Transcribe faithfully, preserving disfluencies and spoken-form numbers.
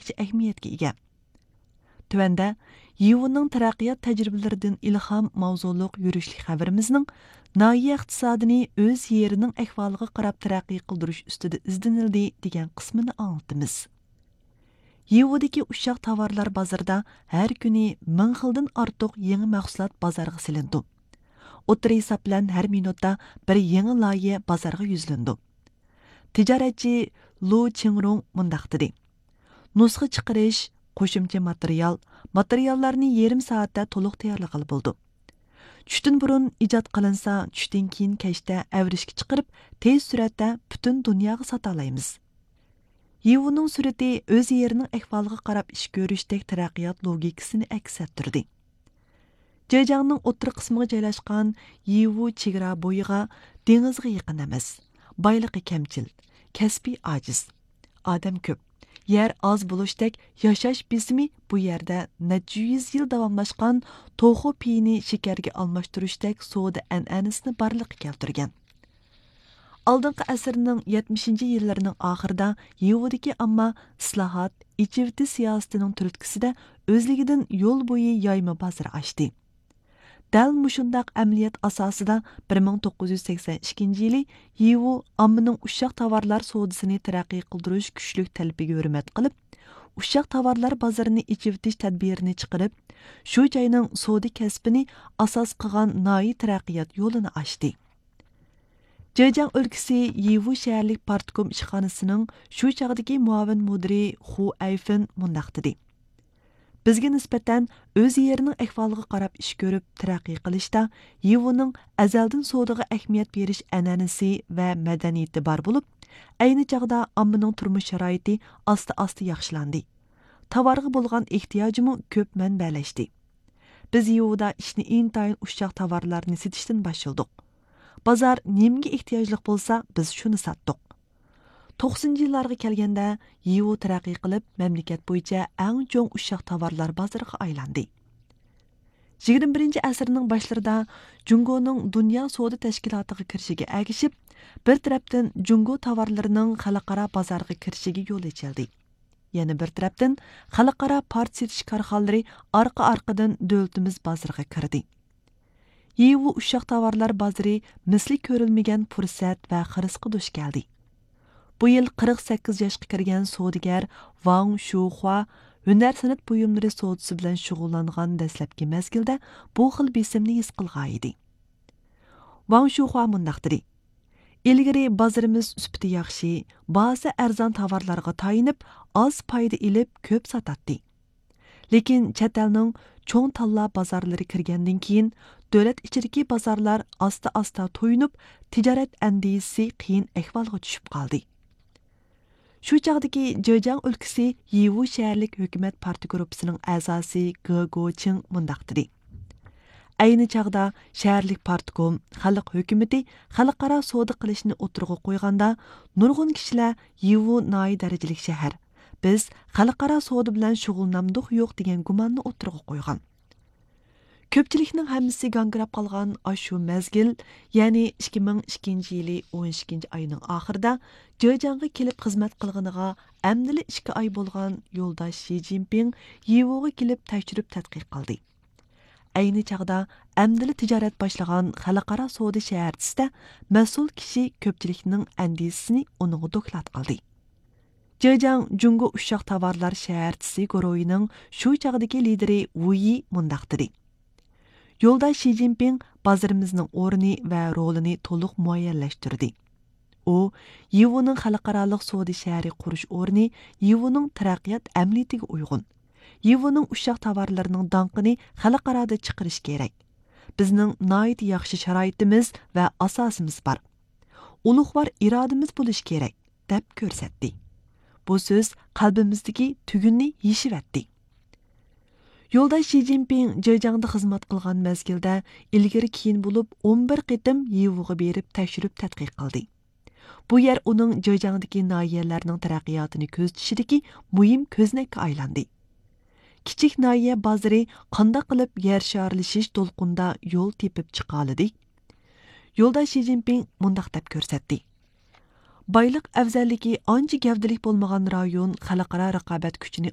ئارتۇقچە ئەھمىيەتكە ئىگە. تۆۋەندە يىۋۇنىڭ تەرەققىيات تەجرىبىلىرىدىن ئىلھام ماۋزۇلۇق يۈرۈشلۈك خەۋىرىمىزنىڭ ناھىيە ئىقتىسادىنى ئۆز يېرىنىڭ ئەھۋالىغا قاراپ تەرەققىي قىلدۇرۇش ئۈستىدە ئىزدىنىلدى دېگەن قىسمىنى ئاڭلىتىمىز. يىۋۇدىكى ئۇششاق تاۋارلار بازىرىدا ھەر كۈنى مىڭ خىلدىن ئارتۇق يېڭى مەھسۇلات بازارغا سېلىنىدۇ. ئوتتۇرا ھېساب بىلەن ھەر مىنۇتتا بىر يېڭى لايىھە بازارغا يۈزلىنىدۇ. تىجارەتچى لۇ چىڭرۇڭ مۇنداق دېدى: نۇسخا چىقىرىش، قوشۇمچە ماتېرىيال، ماتېرىياللارنى يېرىم سائەتتە تولۇق تەييارلىغىلى بولىدۇ. چۈشتىن بۇرۇن ئىجاد قىلىنسا، چۈشتىن كېيىن كەچتە ئەۋرىشكە چىقىرىپ، تېز سۈرئەتتە پۈتۈن دۇنياغا ساتالايمىز. يىۋۇنىڭ سۈرىتى ئۆز يېرىنىڭ ئەھۋالىغا قاراپ ئىش كۆرۈشتەك تەرەققىيات لوگىكىسىنى ئەكس ئەتتۈردى. جېجياڭنىڭ ئوتتۇرا قىسمىغا جايلاشقان يىۋۇ چېگرا بويىغا، دېڭىزغا يېقىن ئەمەس. بايلىقى كەمچىل، كەسپى ئاجىز. ئادەم كۆپ، يەر ئاز بولۇشتەك ياشاش بېسىمى بۇ يەردە نەچچە يۈز يىل داۋاملاشقان توخۇ پېيىنى شېكەرگە ئالماشتۇرۇشتەك سودا ئەنئەنىسىنى بارلىققا كەلتۈرگەن. ئالدىنقى ئەسىرنىڭ يەتمىشىنچى يىللىرىنىڭ ئاخىرىدا يىۋۇدىكى ئامما ئىسلاھات، ئېچىۋېتىش سىياسىتىنىڭ تۈرتكىسىدە ئۆزلۈكىدىن يول بويى يايما بازىرى ئاچتى. دەل مۇشۇنداق ئەمەلىيەت ئاساسىدا بىر مىڭ توققۇز يۈز سەكسەن ئىككىنچى يىلى يىۋۇ ئاممىنىڭ ئۇششاق تاۋارلار سودىسىنى تەرەققىي قىلدۇرۇش كۈچلۈك تەلىپىگە ھۆرمەت قىلىپ، ئۇششاق تاۋارلار بازىرىنى ئېچىۋېتىش تەدبىرىنى چىقىرىپ، شۇ جاينىڭ سودا كەسپىنى ئاساس قىلغان ناھىيە تەرەققىيات يولىنى ئاچتى. جېجياڭ ئۆلكىسى يىۋۇ شەھەرلىك پارتكوم ئىشخانىسىنىڭ شۇ چاغدىكى مۇئاۋىن مۇدىرى خۇ ئەيفېن مۇنداق دېدى: بىزگە نىسبەتەن ئۆز يېرىنىڭ ئەھۋالىغا قاراپ ئىش كۆرۈپ تەرەققىي قىلىشتا يىۋۇنىڭ ئەزەلدىن سودىغا ئەھمىيەت بېرىش ئەنئەنىسى ۋە مەدەنىيىتى بار بولۇپ، ئەينى چاغدا ئاممىنىڭ تۇرمۇش شارائىتى ئاستا-ئاستا ياخشىلاندى. تاۋارغا بولغان ئېھتىياجمۇ كۆپ مەنبەلەشتى. بىز يىۋۇدا ئىشنى ئىنتايىن ئۇششاق تاۋارلارنى سېتىشتىن باشلىدۇق. بازار نېمىگە ئېھتىياجلىق بولسا، بىز شۇنى ساتتۇق. توقسىنىنچى يىللارغا كەلگەندە، يىۋۇ تەرەققىي قىلىپ، مەملىكەت بويىچە ئەڭ چوڭ ئۇششاق تاۋارلار بازىرىغا ئايلاندى. يىگىرمە بىرىنچى ئەسىرنىڭ باشلىرىدا جۇڭگونىڭ دۇنيا سودا تەشكىلاتىغا كىرىشىگە ئەگىشىپ، بىر تەرەپتىن جۇڭگو تاۋارلىرىنىڭ خەلقئارا بازارغا كىرىشىگە يول ئېچىلدى. يەنە بىر تەرەپتىن، خەلقئارا پارچە سېتىش كارخانىلىرى ئارقا-ئارقىدىن دۆلىتىمىز بازىرىغا كىردى. يىۋۇ ئۇششاق تاۋارلار بازىرى مىسلى كۆرۈلمىگەن پۇرسەت ۋە خىرىسقا دۇچ كەلدى. بۇ يىل قىرىق سەككىز ياشقا كىرگەن سودىگەر ۋاڭ شۇخۇا ھۈنەر سەنئەت بۇيۇملىرى سودىسى بىلەن شۇغۇللانغان دەسلەپكى مەزگىلدە بۇ خىل بېسىمنى ھېس قىلغانىدى. ۋاڭ شۇخۇا مۇنداق دېدى: ئىلگىرى بازىرىمىز سۈپىتى ياخشى، باھاسى ئەرزان تاۋارلارغا تايىنىپ، ئاز پايدا ئېلىپ، كۆپ ساتاتتى. لېكىن چەت ئەلنىڭ چوڭ تاللا بازارلىرى كىرگەندىن كېيىن، دۆلەت ئىچىدىكى بازارلار ئاستا-ئاستا تويۇنۇپ، تىجارەت ئەندىزىسى قىيىن ئەھۋالغا چۈشۈپ قالدى. شۇ چاغدىكى جېجياڭ ئۆلكىسى يىۋۇ شەھەرلىك ھۆكۈمەت پارتگۇرۇپپىسىنىڭ ئەزاسى گې گوچىڭ مۇنداق دېدى: ئەينى چاغدا شەھەرلىك پارتكوم، خەلق ھۆكۈمىتى خەلقئارا سودا قىلىشنى ئوتتۇرىغا قويغاندا، نۇرغۇن كىشىلەر يىۋۇ ناھىيە دەرىجىلىك شەھەر، بىز خەلقئارا سودا بىلەن شۇغۇللىنامدۇق يوق دېگەن گۇماننى ئوتتۇرىغا قويغان. كۆپچىلىكنىڭ ھەممىسى گاڭگىراپ قالغان ئاشۇ مەزگىل، يەنى ئىككى مىڭ ئىككىنچى يىلى ئون ئىككىنچى ئاينىڭ ئاخىرىدا جېجياڭغا كېلىپ خىزمەت قىلغىنىغا ئەمدىلا ئىككى ئاي بولغان يولداش شى جىنپىڭ يىۋۇغا كېلىپ تەكشۈرۈپ تەتقىق قىلدى. ئەينى چاغدا ئەمدىلا تىجارەت باشلىغان خەلقئارا سودا شەھەرچىسىدە مەسئۇل كىشى كۆپچىلىكنىڭ ئەندىزىسىنى ئۇنىڭغا دوكلات قىلدى. جېجياڭ جۇڭگو ئۇششاق تاۋارلار شەھەرچىسى گۇرۇھىنىڭ شۇ چاغدىكى لىدىرى ۋۇ يى مۇنداق دېدى: يولداش شى جىنپىڭ بازىرىمىزنىڭ ئورنى ۋە رولىنى تولۇق مۇئەييەنلەشتۈردى. ئۇ، يىۋۇنىڭ خەلقئارالىق سودا شەھىرى قۇرۇش ئورنى يىۋۇنىڭ تەرەققىيات ئەمەلىيىتىگە ئۇيغۇن. يىۋۇنىڭ ئۇششاق تاۋارلىرىنىڭ داڭقىنى خەلقئارادا چىقىرىش كېرەك. بىزنىڭ ناھايىتى ياخشى شارائىتىمىز ۋە ئاساسىمىز بار. ئۇلۇغۋار ئىرادىمىز بولۇشى كېرەك، دەپ كۆرسەتتى. بۇ سۆز قەلبىمىزدىكى تۈگۈننى يېشىۋەتتى. يولداش شى جىنپىڭ جېجياڭدا خىزمەت قىلغان مەزگىلدە ئىلگىرى كېيىن بولۇپ ئون بىر قېتىم يىۋۇغا بېرىپ تەكشۈرۈپ تەتقىق قىلدى. بۇ يەر ئۇنىڭ جېجياڭدىكى ناھىيەلەرنىڭ تەرەققىياتىنى كۆزىتىشىدىكى مۇھىم كۆزنەككە ئايلاندى. كىچىك ناھىيە بازىرى قانداق قىلىپ يەر شارلىشىش دولقۇنىدا يول تېپىپ چىقالىدى؟ يولداش شى جىنپىڭ مۇنداق دەپ كۆرسەتتى: بايلىق ئەۋزەللىكى ئانچە گەۋدىلىك بولمىغان رايون خەلقئارا رىقابەت كۈچىنى